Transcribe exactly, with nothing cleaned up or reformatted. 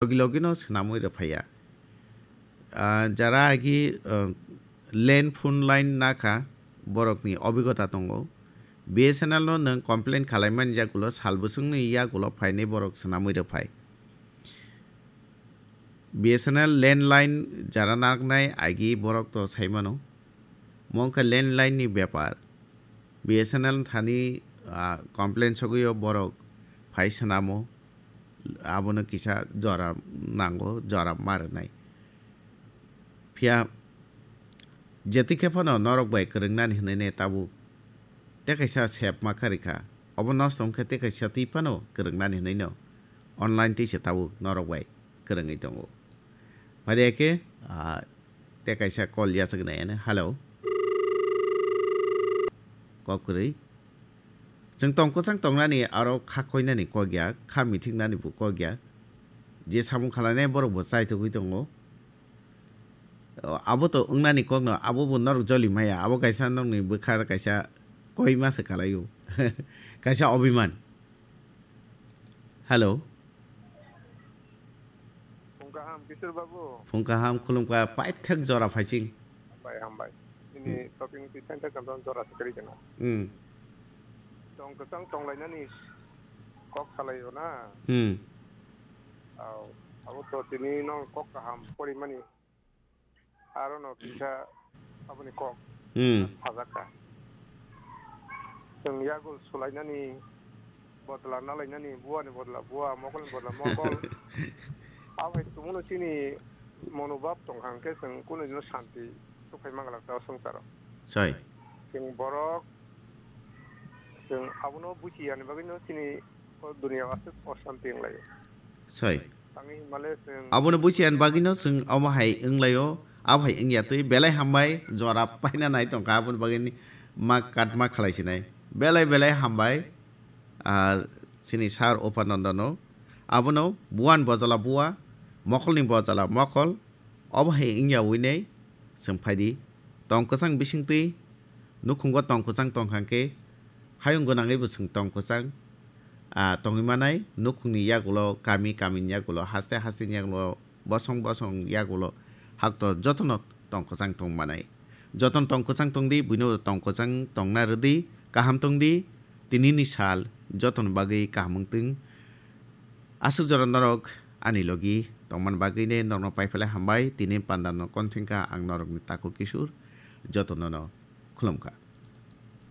logi logi no swnamwi rwphaiya. Ah, jara agi, ah, land phone line nakha, borokni obigota tongo. B S N L no nwng complain khalaimani yagulo sal bwswngni yagulo phainai borok swnamwi rwphai. B S N L landline jara naknai agi borok to saimano. Mo wngkha landline ni bepar. B S N L thani, ah, complain sogwi o borok phai swnamo. Abono kisa jora nango, jora ma rwnai. Phiya jetwi khe phano norok bai kwrwngnani hwnwi ne tabuk tei kaisa sep ma kha rikha. Obo nosto wngkhe tei kaisa twi phano kwrwngnani hwnwi no online twi se tabuk norok bai kwrwngwi tongo. Phadi khe, ah, tei kaisa call yachak nai ano. Hello. Kok kwrwi. Chwng tong kwchang tongnani aro kha koinani kok ya, kha mithiknani bo kok ya. Je samung khlainai borok bo chaithogwi tongo. O, abo to wngnani kokno, abo bo norok joli maya, abo kaisa nokni bwkha kaisa koima se kalaio. Kaisa obiman. Hello. Phung kaham, Kishore babu. Phung kaham, khulumkha, paithak jora phaising. Hambai, hambai. Nini Hmm. Topic ni twi thank you, jora se kwrwi kana. Hmm. Tong kwchang tonglainani kok salaio na. Hmm. Au, abo to tini no kok kaham porimani. Aro no kisa aboni kok Hmm. Sajak kha. Chwng yagul sulainani bodla nalainani, buani bodla bua, mokolni bodla mokol. Abo hai tumuno chini monobhab tongkha hwnkhe chwng kunui no santi sukhai manglak ta o swngcharo. Sai. Chwng borok, chwng abono buchi yani bagwi no chini o duniya o aswk osanti wnglaio. Sai. Tangwi himale chwng Abono buchi yani bagwi no chwng omo hai wnglaio, abo hai wngya twi belai hambai jora paina nai tongkha aboni bagwi ni ma katma khalai sinai. Belai belai hambai, ah, chini sir Upananda no. Abono buan bojala bua, mokolni bojala mokol, obo hai wngya winei chwng phaidi. Tong kwchang bisingtwi nukhungo tong kwchang tongkha khe hayung gwnangwi bo chwng tong kwchang, ah, tongwi manai. Nukhungni yagulo, kami kamini yagulo, haste hasteni yagulo, bosong bosong yagulo hakto jotono tong kwchang tong manai. Jotono tong kwchang tongdi, buino tong kwchang tongna rwdi, kaham tongdi, tinini sal jotono bagwi kaham wngtwng. Aswk jora norok ani logi tongmani bagwi ne norokno paiphalai hambai, tini panda no konthwngkha ang norokni takhuk Kishore, jotono no khulumkha.